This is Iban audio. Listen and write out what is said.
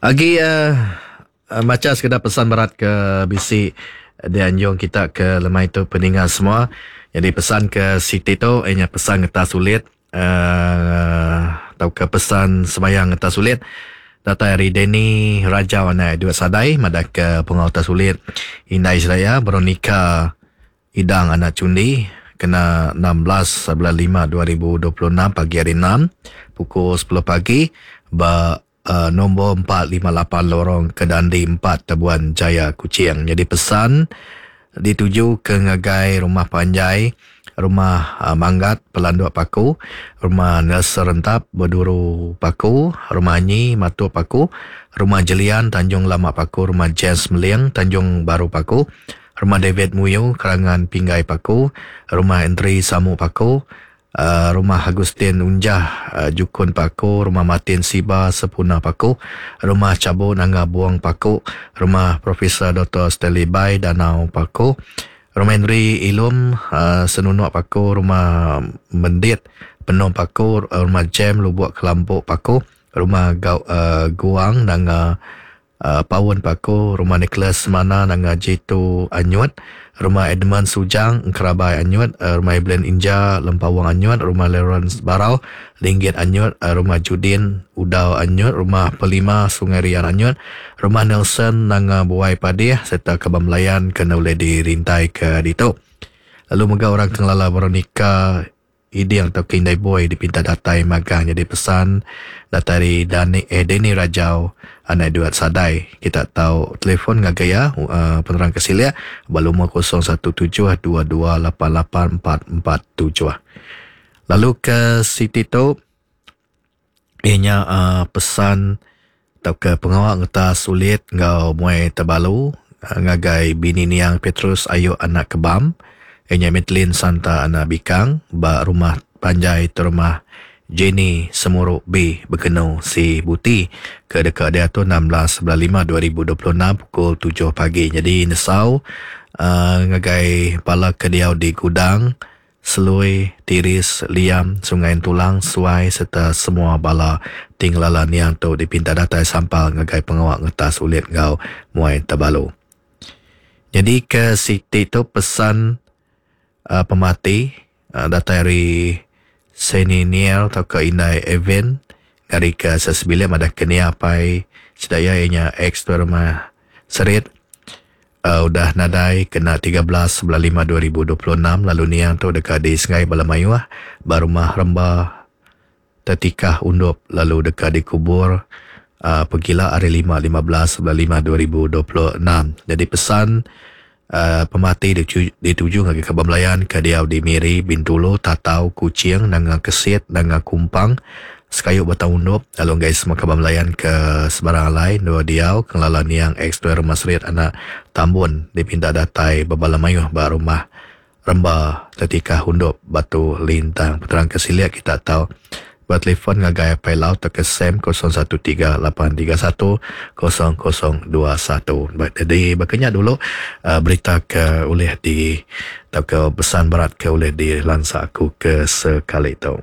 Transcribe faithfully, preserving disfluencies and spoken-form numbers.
Agi uh, macha sekeda pesan berat ke bisi dianjung kita ke lemai tu peninga semua. Jadi pesan ke siti tu ianya pesan ngetas ulit uh, atau ke pesan sembahyang ngetas ulit datai ari Danny Rajau anak Edward Sadai madah ke pengau atas ulit indai sedaya Veronica Idang anak Chundi kena enam belas bulan lima dua ribu dua puluh enam pagi hari enam pukul sepuluh pagi ba uh, nombor empat lima lapan Lorong Kedandi empat Tabuan Jaya Kuching. Jadi pesan dituju ke ngagai rumah panjai, rumah uh, Manggat Pelanduk Paku, rumah Nelson Rentap Beduru Paku, rumah Anyi Matuk Paku, rumah Jelian Tanjung Lama Paku, rumah James Meling Tanjung Baru Paku, rumah David Muyu Kerangan Pinggai Paku, rumah Entri Samu Paku, uh, rumah Agustin Unjah uh, Jukun Paku, rumah Martin Siba Sepuna Paku, rumah Cabo Nanga Buang Paku, rumah Profesor Doktor Stanley Bai Danau Paku, rumah Henry Ilum uh, Senunuk Paku, rumah Mendit Penom Paku, rumah Jam Lubuk Kelampuk Paku, rumah Gau, uh, Guang Nanga uh, Paun Paku, rumah Nicholas Mana Nanga Jitu Anyut, rumah Edmund Sujang Kerabai Anyut, uh, rumah Evelyn Inja Lempawang Anyut, rumah Lawrence Barau Linggit Anyut, uh, rumah Judin Udau Anyut, rumah Pelima Sungai Rian Anyut, rumah Nelson Nanga Buai Padih serta Kebam Melayan kena boleh dirintai ke ditu. Lalu mega orang kengelala Veronica Iding atau Kindai Boy dipinta datai magang. Jadi pesan datai dari Dani, eh, Danny Rajau anak Edward Sadai. Kita tahu telefon ngagai ya uh, penerang kesilia balumur kosong satu tujuh dua dua lapan lapan empat empat tujuh. Lalu ke Siti tu ianya uh, pesan atau ke pengawal ngetas sulit ngau muai terbalu uh, ngagai bini niang Petrus Ayu anak Kebam. Ianya Madeline Santa anak Bikang ba rumah panjai terumah Jenny Semuruk B Bekenu Si Buti ke dekat dia tu enam belas bulan lima dua ribu dua puluh enam pukul tujuh pagi. Jadi nesau uh, ngagai pala ke diau di gudang Selui, Tiris, Liam, Sungai Tulang, Suai serta semua bala tinglala niang tu dipinta datai sampal ngagai pengawak ngetas ulit ngau muai terbalu. Jadi ke Siti tu pesan Uh, pemati uh, datai dari Seniniel atau ke Indai Event dari ke sesebilik madah kenia apai sedaya ianya ex tu rumah Serit uh, udah nadai kena tiga belas bulan lima dua ribu dua puluh enam lalu niang tu dekat di Sungai Balamayuah barumah Remba Tetikah Undup lalu dekat dikubur uh, pegila hari lima lima belas bulan lima dua ribu dua puluh enam. Jadi pesan Uh, pemati dituju, dituju ngagai Kebam Melayan ke diau di Miri, Bintulu, Tatau, Kuching, Nanga Kesit, Nanga Kumpang, Sekayu Batang Undup, lalu guys semua Kebam Melayan ke sebarang alai, dua diau, kelala niang ex tuan rumah Serit anak Tambun dipinta datai bebala mayuh ba rumah Remba Tetikah Undup Batu Lintang. Peterang kesiliak kita tahu buat telefon ngagai Apai Lau atau ke Sam kosong satu tiga lapan tiga satu kosong kosong dua satu. Baik, jadi bakanya dulu uh, berita ke oleh di atau ke pesan berat ke oleh di lansa aku ke sekali tu.